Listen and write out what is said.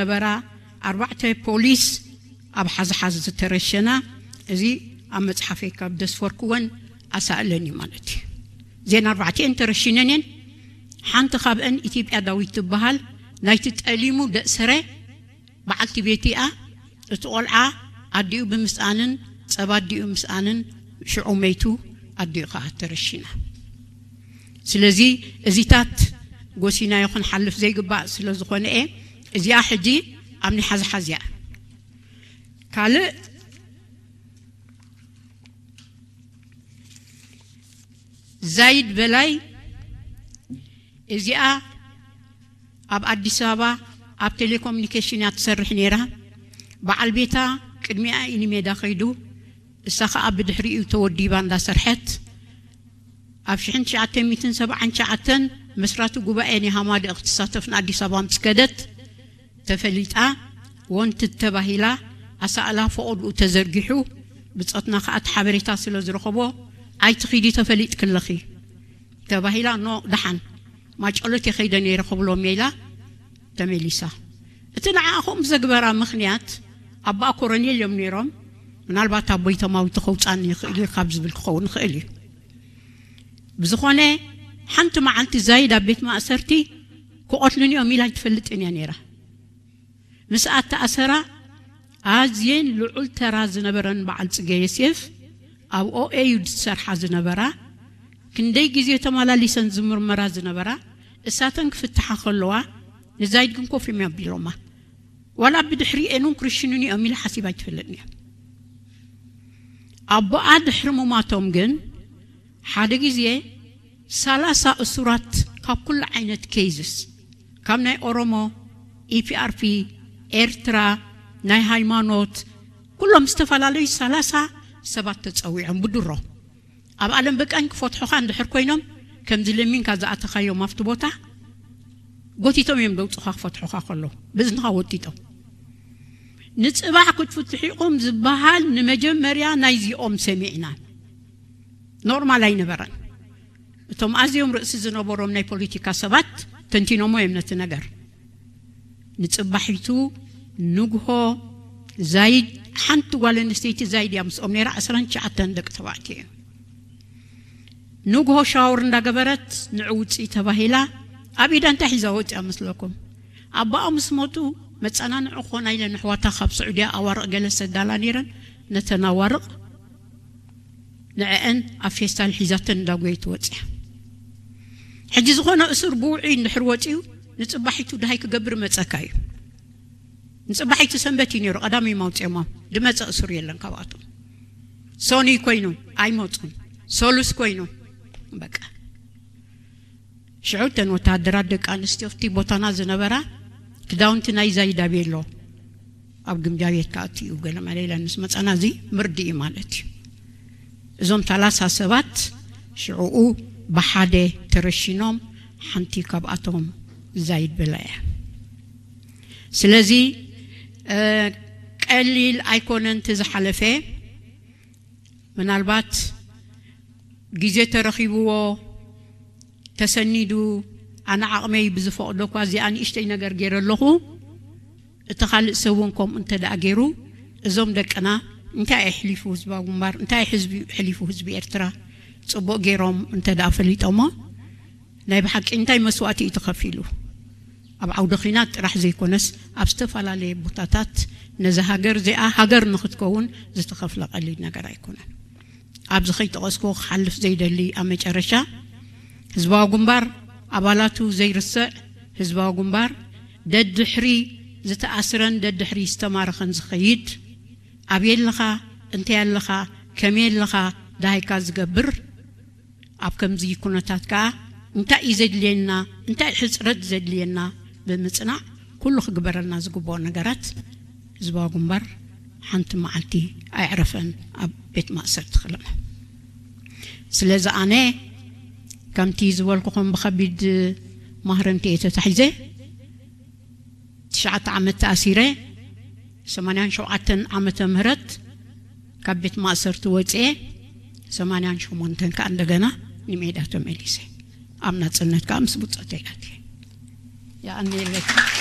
ነበራ ኣርባዕተ ፖሊስ ኣብ ሓዝሓዝ ዝተረሸና፣ እዚ ኣብ መጽሓፈይ ካብ ደስፈርክወን ኣሳእለን እዩ ማለት እዩ። እዘን ኣርባዕተኤን ተረሺነን እየን። ሓንቲ ካብአን ኢትዮጵያ ዳዊት ትበሃል፣ ናይቲ ጠሊሙ ደእሰረ በዓልቲ ቤት እያ። እቲ ቆልዓ ኣዲኡ ብምስኣንን ጸባ ኣዲኡ ምስኣንን ሽዑ መይቱ፣ ኣዲኡ ከኣ ተረሺና። ስለዚ እዚታት ጎሲናዮ ክንሓልፍ ዘይግባእ ስለ ዝኾነ እየ። እዚኣ ሕጂ ኣብ ናይ ሓዝሓዝ እያ። ካልእ ዛይድ በላይ፣ እዚኣ ኣብ ኣዲስ ኣበባ ኣብ ቴሌኮሙኒኬሽን እያ ትሰርሕ ነይራ። በዓል ቤታ ቅድሚኣ እዩ ንሜዳ ከይዱ፣ እሳ ኸኣ ብድሕሪኡ ተወዲባ እንዳሰርሐት። ኣብ ሽሕን ትሽዓተ ሚእትን ሰብዓን ትሽዓተን መስራቲ ጉባኤ ናይ ሃማደኤ ክትሳተፍ ንኣዲስ ኣበባ ምስ ከደት ተፈሊጣ፣ ወንትድ ተባሂላ፣ ኣሳእላ ፈቐድኡ ተዘርጊሑ፣ ብጾትና ከኣ እቲ ሓበሬታ ስለ ዝረኸቦ፣ ኣይትኺዲ ተፈሊጥኪ ኣለኺ ተባሂላ፣ ኖ ደሓን ማጨሎት እየ ከይደ ነይረ ክብሎም እየ ኢላ ተመሊሳ። እቲ ንዓኣ ከምኡ ዘግበራ ምኽንያት፣ ኣቦኣ ኮረኔል እዮም ነይሮም። ምናልባት ኣቦይ ተማዊቱ ከውጻኒ ይኽእል እዩ ካብ ዝብል ክኸውን ይኽእል እዩ። ብዝኾነ፣ ሓንቲ መዓልቲ ዛይድ ኣብ ቤት ማእሰርቲ ክቐትሉኒ እዮም ኢላ ኣይትፈልጥን እያ ነይራ። ምስ ኣተኣሰራ ኣዝየን ልዑል ተራ ዝነበረን በዓል ጽጌ ዮሴፍ፣ ኣብ ኦኤ እዩ ዝሰርሓ ዝነበራ። ክንደይ ግዜ ተመላሊሰን ዝምርመራ ዝነበራ፣ እሳተን ክፍትሓ ከለዋ፣ ንዛይድ ግን ኮፍ እዮም ኣቢሎማ። ዋላ ብድሕሪኤን እውን ክርሽኑኒ እዮም ኢላ ሓሲባ ኣይትፈልጥን እያ። ኣቦኣ ድሕሪ ምሟቶም ግን፣ ሓደ ግዜ ሰላሳ እሱራት ካብ ኩሉ ዓይነት ኬዝስ፣ ካብ ናይ ኦሮሞ፣ ኢፒኣርፒ፣ ኤርትራ፣ ናይ ሃይማኖት፣ ኩሎም ዝተፈላለዩ ሰላሳ ሰባት ተጸዊዖም ብድሮ። ኣብ ኣለም በቃኝ ክፈትሑኻ እንድሕር ኮይኖም፣ ከምዚ ለሚንካ ዝኣተኻዮም ኣብቲ ቦታ፣ ጎቲቶም እዮም ደውጹኻ ክፈትሑኻ ከለዉ፣ ብእዝንኻ ወጢጦም። ንጽባሕ ክትፍትሑ ኢኹም ዝበሃል ንመጀመርያ ናይዚኦም ሰሚዕና። ኖርማል ኣይነበረን። እቶም ኣዝዮም ርእሲ ዝነበሮም ናይ ፖለቲካ ሰባት ተንቲኖሞ እዮም ነቲ ነገር። ንጽባሒቱ ንግሆ ዛይድ፣ ሓንቲ ጓል ኣንስተይቲ ዛይድ እያ ምስኦም ነይራ፣ ዕስራን ትሽዓተን ደቂ ተባዕትዮ እዮም። ንግሆ ሻወር እንዳገበረት ንዑ ውፅኢ ተባሂላ፣ ኣብ ኢዳ እንታይ ሒዛ ወፂኣ መስለኩም? ኣባኣ ምስ ሞቱ መፀናንዒ ክኾና ኢለን ኣሕዋታ ካብ ስዑድያ ኣዋርቕ ገለ ሰዳላ ነይረን፣ ነተን ኣዋርቕ ንዕአን ኣብ ፌስታል ሒዛተን እንዳጎየት ወፂኣ። ሕጂ ዝኾነ እሱር ብውዑይ እንድሕር ወፂኡ ንፅባሒቱ ድሃይ ክገብር መፀካ እዩ። ንፅባሒቱ ሰንበት እዩ ነይሩ፣ ቀዳሚ ማውፅኦማ ድመፀ እሱር የለን ካብኣቶም። ሶኒ ኮይኑ ኣይመፁን፣ ሶሉስ ኮይኑ በቃ። ሽዑ እተን ወተሃደራት ደቂ ኣንስትዮ ኣብቲ ቦታና ዝነበራ ክዳውንቲ ናይ ዛይዳ ቤሎ ኣብ ግምጃ ቤት ክኣቱ እዩ ገለ መለ ኢለን ምስ መፀና፣ እዚ ምርዲ እዩ ማለት እዩ። እዞም ሰላሳ ሰባት ሽዕኡ ብሓደ ተረሺኖም፣ ሓንቲ ካብኣቶም ዛይድ በላ እያ። ስለዚ እ፣ ቀሊል ኣይኮነን እቲ ዝሓለፈ። ምናልባት ግዜ ተረኺብዎ ተሰኒዱ፣ ኣነ ዓቕመይ ብዝፈቕዶ እኳ እዚኣ ንእሽተይ ነገር ገይረ ኣለኹ፣ እቲ ካልእ ሰብ እውን ከምኡ እንተ ደኣ ገይሩ፣ እዞም ደቅና እንታይ ኣሕሊፉ ህዝባዊ ግንባር፣ እንታይ ሕዝቢ ኣሕሊፉ ህዝቢ ኤርትራ ጽቡቕ ገይሮም እንተ ደኣ ፈሊጦሞ፣ ናይ ብሓቂ እንታይ መስዋእቲ እዩ ተኸፊሉ? ኣብ ዓውደ ኺናት ጥራሕ ዘይኮነስ ኣብ ዝተፈላለየ ቦታታት ነዛ ሃገር እዚኣ ሃገር ንኽትከውን ዝተኸፍለ ቀሊል ነገር ኣይኮነን። ኣብዚ ከይጠቐስኩ ክሓልፍ ዘይደሊ ኣብ መጨረሻ፣ ህዝባዊ ግንባር ኣባላቱ ዘይርስዕ፣ ህዝባዊ ግንባር ደድሕሪ ዝተኣስረን ደድሕሪ ዝተማረኸን ዝኸይድ፣ ኣበይ ኣለኻ፣ እንታይ ኣለኻ፣ ከመይ ኣለኻ፣ ደሃይካ ዝገብር፣ ኣብ ከምዚ ኩነታት ከኣ እንታይ እዩ ዘድልየና፣ እንታይ ሕጽረት ዘድልየና ብምጽናዕ ኩሉ ክግበረልና ዝግብኦ ነገራት ህዝባዊ ግንባር ሓንቲ መዓልቲ ኣየዕረፈን ኣብ ቤት ማእሰርቲ ከለና። ስለዚ ኣነ ከምቲ ዝበልኩኹም ብኸቢድ ማህረምቲ እየ ተታሒዘ። ትሽዓተ ዓመት ተኣሲረ፣ ሰማንያን ሸውዓተን ዓመተ ምህረት ካብ ቤት ማእሰርቲ ወፅኤ፣ ሰማንያን ሸሞንተን ከዓ እንደገና ንሜዳ ተመሊሰ። ኣብ ናፅነት ከዓ ምስ ብፆተይ ኣትየ። የቐንየለይ።